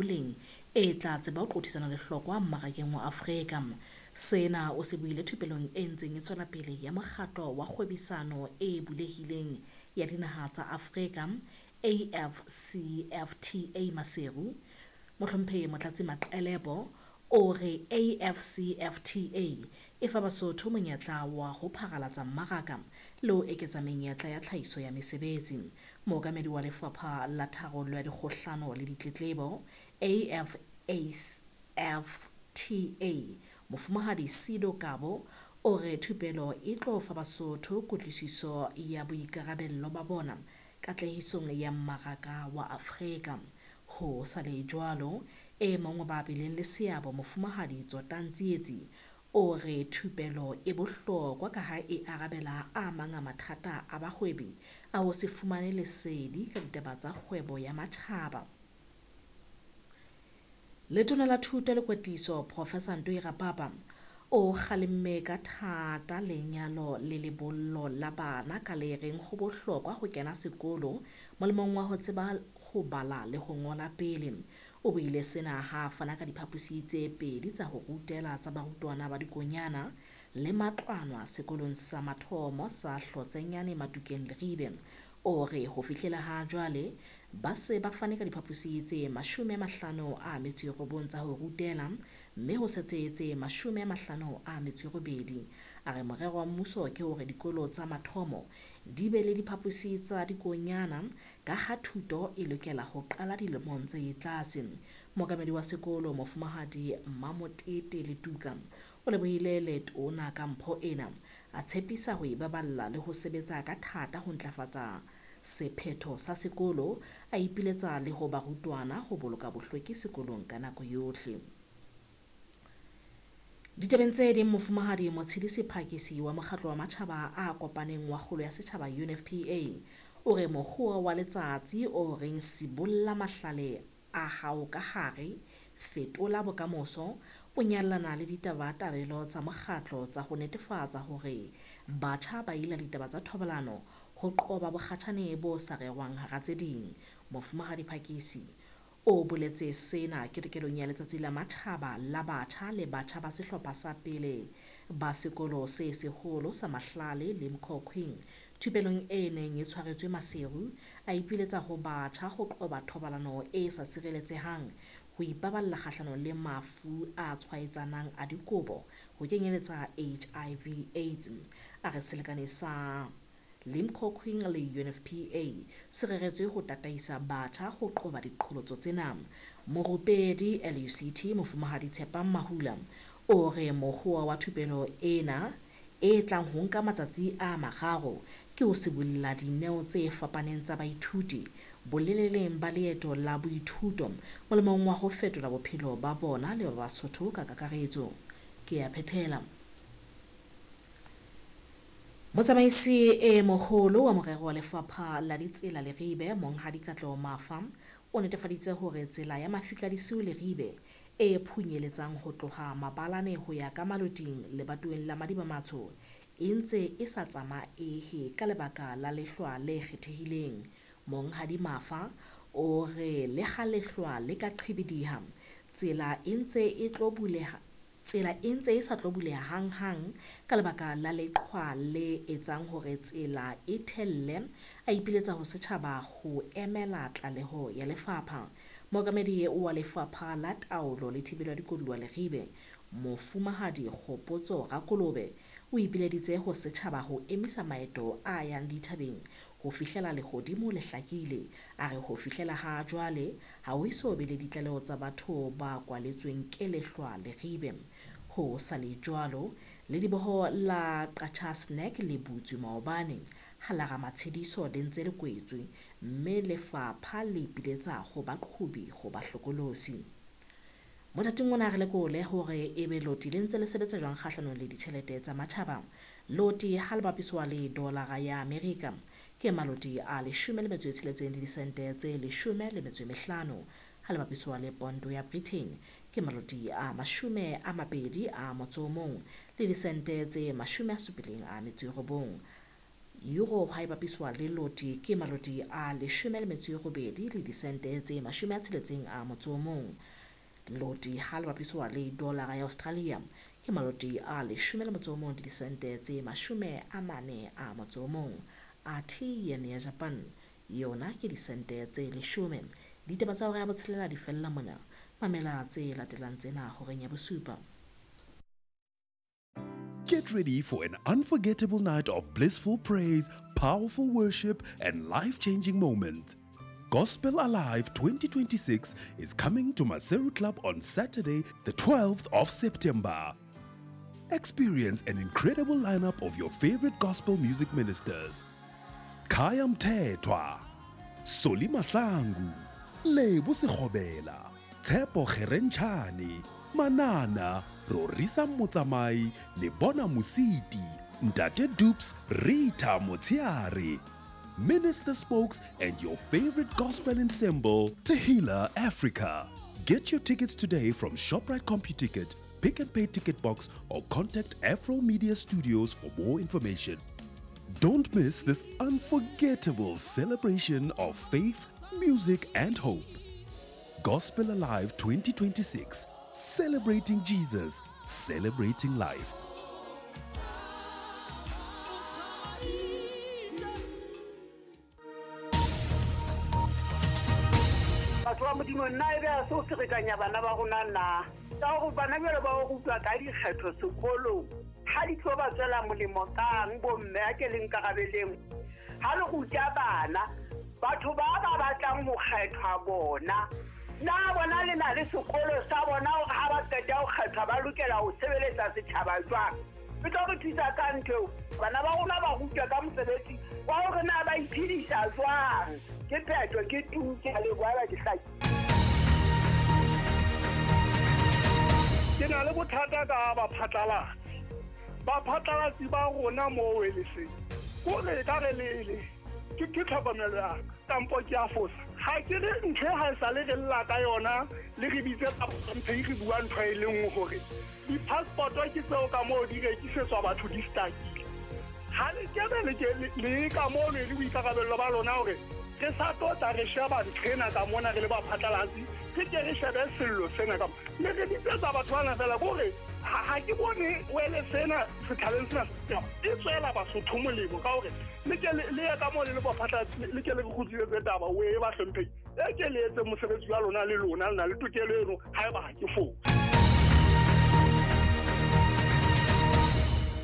Boleng e tla tseba ho qothisana lehlokwa mmarakeng wa Afrika. Sena o se buile thupelong e ntseng e tswela pele ya Mokgatlo wa Kgwebisano e Bulehileng ya Dinaha tsa Afrika, AfCFTA Maseru. Mohlomphehi Motlatsi Maqelepo o re AfCFTA e fa Basotho monyetla wa ho pharalatsa mmaraka le ho eketsa menyetla ya tlhahiso ya mesebetsi. Mookamedi wa Lefapha la Tharollo ya Dikgohlano le Ditletlebo, AfCFTA, Mofumahadi Sido Kabo, o re thupelo e tlo fa Basotho kutlwisiso ya boikarabello ba bona katlehisong ya mmaraka wa Afrika. Ho sa le jwalo, e mong wa ba bileng le seabo, Mofumahadi Tsotang Tsietsi, o re thupelo e bohlokwa ka ha e arabela a mang a mathata a bahwebi a ho se fumane lesedi ka ditaba tsa kgwebo ya matjhaba. Letona la Thuto le Kwetliso, Professor Ntoi Rapapa, o kgalemme ka thata lenyalo le lebollo la bana ka le reng ho bohlokwa ho kena sekolo molemong wa ho tseba ho bala le ho ngola pele. O buile sena ha a fana ka diphaposi tse pedi tsa ho rutela tsa barutwana ba dikonyana le matlwanwa sekolong sa mathomo sa Hlotsenyane Matukeng Leribe. O re ho fihlela ha jwale ba se ba fane ka diphaposi tse 59 tsa ho rutela mme ho setse tse 58. A re morero wa mmuso ke hore dikolo tsa mathomo di be le diphaposi tsa dikonyana ka ha thuto e lokela ho qala dilemong tse tlase. Mookamedi wa sekolo, Mofumahadi Mmamotete Letuka, o lebohile letona ka mpho ena, a tshepisa ho e baballa le ho sebetsa ka thata ho ntlafatsa sephetho sa sekolo, a ipiletsa le ho barutwana ho boloka bohlweki sekolong ka nako yohle. Ditabeng tse ding, Mofumahadi Motshidisi Phakisi wa Mokgatlo wa Matjhaba a Kopaneng wa Kgolo ya Setjhaba UNFPA o re mokgwa wa letsatsi o reng sibolla mahlale a hao ka hare, fetola bokamoso, o nyallana le ditabatabelo tsa mokgatlo tsa ho netefatsa hore batjha ba ila ditaba tsa thobalano ho qoba bokgatjhane bo sa rerwang hara tse ding. Mofumahadi Phakisi o boletse sena ketekelong ya Letsatsi la Matjhaba la Batjha le batjha ba sehlopha sa pele ba sekolo se seholo sa Mahlale le Mkhokhweng thupelong e neng e tshwaretswe Maseru. A ipiletsa ho batjha ho qoba thobalano e sa sireletsehang, ho ipaballa kgahlanong le mafu a tshwaetsanang a dikobo ho kenyeletsa HIV AIDS. A re selekane sa Limkokwing le UNFPA se reretswe ho tataisa batjha ho qoba diqholotso tsena. Morupedi LUCT Mofumahadi Tshepang Mahula o re mokgwa wa thupelo ena e tlang ho nka matsatsi a mararo ke ho sibolla dineo tse fapaneng tsa baithuti boleleleng ba leeto la boithuto molemong wa ho fetola bophelo ba bona le ba Basotho ka kakaretso. Ke a phethela. Motsamaisi e moholo wa morero wa Lefapha la Ditsela Leribe, Monghadi Katleho Mafa, o netefaditse hore tsela ya Mafika Disiu Leribe e phunyeletsang ho tloha Mabalane ho ya ka Maloting lebatoweng la Madiba-Matsho e ntse e sa tsamaehe ka lebaka la lehlwa le kgethehileng. Monghadi Mafa o re le ha lehlwa le ka qhibidiha, tsela e ntse e tlo buleha tsela e ntse e sa tlo buleha hanghang ka lebaka la leqhwa le etsang hore tsela e thelle, a ipiletsa ho setjhaba ho emela tlaleho ya lefapha. Mookamedi wa Lefapha la Taolo le Thibelo ya Dikoduwa Leribe, Mofumahadi Kgopotso Rakolobe, o ipileditse ho setjhaba ho emisa maeto a yang dithabeng ho fihlela lehodimo le hlakile. A re ho fihlela ha jwale ha ho eso be le ditlaleho tsa batho ba kwaletsweng ke lehlwa Leribe. Ho sa le jwalo, lediboho la Qacha's Nek le butswe maobane ha la Ramatshediso le ntse le kwetswe, mme lefapha le ipiletsa ho baqhobi ho ba hlokolosi. Mothating ona re lekole hore ebe loti le ntse le sebetsa jwang kgahlanong le ditjhelete tsa matjhaba. Loti ha le bapiswa le dolara ya Amerika ke maloti a 16 le disente tse 15, ha le bapiswa le pondo ya Britain ke maloti a 21 le disente tse 79. Euro ha e bapiswa le loti ke maloti a 18 le disente tse 61. Loti ha le bapiswa le dollar ya Australia ke maloti a 11 le disente tse 41. Athe yen ya Japan yona ke disente tse 10. Ditaba tsa hora ya botshelela di fella mona. Mamela tse latelang tsena horeng ya bosupa. Get ready for an unforgettable night of blissful praise, powerful worship, and life-changing moments. Gospel Alive 2026 is coming to Maseru Club on Saturday, the 12th of September. Experience an incredible lineup of your favorite gospel music ministers. Khaya Mthethwa, Solly Mahlangu, Lebo Sekgobela, Tshepo Kgerentshane, Manana, Rorisa Motsamai, Lebona Mositi, Ntate Dupes, Rita Motsiare, Minister Spokes, and your favorite gospel ensemble, Tehila Africa. Get your tickets today from ShopRite CompuTicket, Pick and Pay Ticket Box, or contact Afro Media Studios for more information. Don't miss this unforgettable celebration of faith, music, and hope. Gospel Alive 2026, celebrating Jesus, celebrating life. Batho ba Modimo, nna e be a se o ferekanya bana ba rona na ka gore bana bjalo ba o rutwa ka dikgetho sekolong ga di tlo ba tswela molemo kang bomme a ke leng karabeleng ga le ruta bana batho ba ba batlang ho kgethwa bona na bona le na le sekolo sa bona hore ha ba qeta ho kgethwa ba lokela ho sebeletsa setjhaba jwang. E tlo re thusa ka ntho eo bana ba rona ba rutwa ka mosebetsi wa hore na ba iphedisa jwang. Ke phetho ke tu ke a leboha ba ke hlaki. Ke na le bothata ka baphatlalatsi. Baphatlalatsi ba rona mo weleseng kore ka re lele ke tlhokomelo ya ka kampo ke a fosa. Ha ke re ntho e ha e sale re lla ka yona le re bitse mphe re bua ntho e le nngwe hore di-passport-o ke tseo ka moo di rekisetswa batho di stakile. Ha le kebe le ka moo le boikarabello ba lona hore re sa tlo tla re sheba ntho ena ka mona re le baphatlalatsi, re ke re shebe sello sena ka mona. Mme re bitsetsa batho bana fela kore ha ke bone wele sena setjhabeng sena e tswela Basotho molemo ka hore le ke le ye ka moo le le baphatlalatsi le ke le re kgutlisetse taba o e ba hlompheng. E ke le etse mosebetsi wa lona le lona le na le tokelo eno haeba ha ke fosa.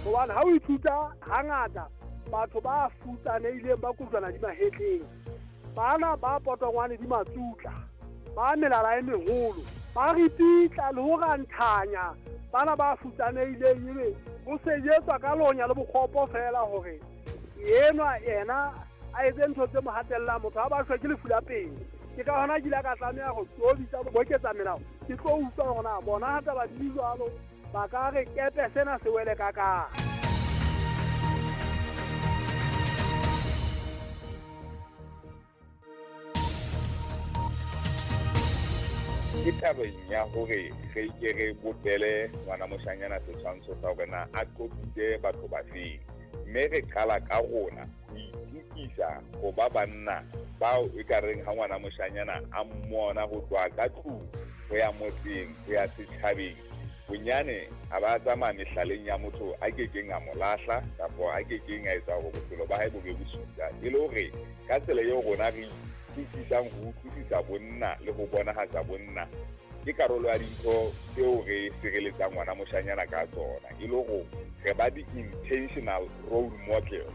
Hobane ha o ithuta hangata batho ba futsanehileng ba kojwana di mahetleng, bana ba potongwane di matsutla, ba melala e meholo, ba ripitla le ho ranthanya bana ba futsanehileng ebe ho sejetswa ka lonya le bokgopo fela hore enwa yena a etse ntho tse mo hatellang motho ha ba shwe ke lefu la pele. Ke ka hona ke ile ka tlameha ho tobitsa boketsa melao ke tlo utlwa hore na bona ha taba di jwalo ba ka re kepe sena se wele ka ka. Ke tabeng ya hore re ke re bopele ngwana moshanyana setshwantsho sa hore na a qopitse batho ba feng, mme re qala ka rona ho itukisa ho ba banna bao e ka reng ha ngwana moshanyana a mmona ho tloha ka tlung ho ya motseng ho ya setjhabeng bonyane a ba tsamaya mehlaleng ya motho a kekeng a mo lahla kapa a kekeng a etsa hore bophelo ba hae bo be bosula. E le hore ka tsela eo rona re utlwisisang ho utlwisisa bonna le ho bonahatsa bonna ke karolo ya dintho tseo re sireletsang ngwana moshanyana ka tsona, e le hore re ba di-intentional role model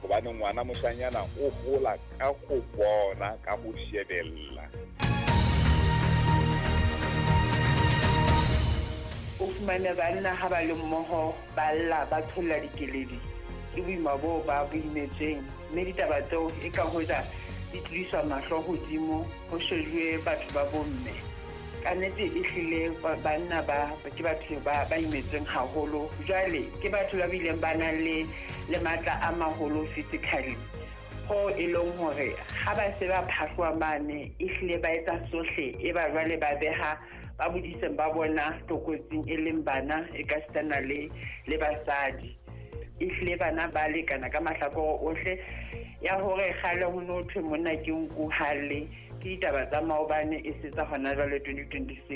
hobane ngwana moshanyana o hola ka ho bona, ka ho shebella. O fumane banna ha ba le mmoho ba lla ba tholla dikeledi ke boima boo ba bo imetsweng, mme ditaba tseo e ka hoja di tlodiswa mahlo hodimo ho shejuwe batho ba bomme. Ka nnete e hlile banna ba ke batho ba imetsweng haholo, jwale ke batho ba bileng ba nang le matla a maholo physically ho e leng hore ha ba se ba phahloa mane e hlile ba etsa sohle e ba jwale ba beha ba bodiseng ba bona tlokotsing e leng bana e ka sitana le basadi. Ehlile bana ba lekana ka mahlakore ohle. Ya hore kgale ho no thwe monna ke nku ha lle, ke ditaba tsa maobane e se tsa hona jwale 2026.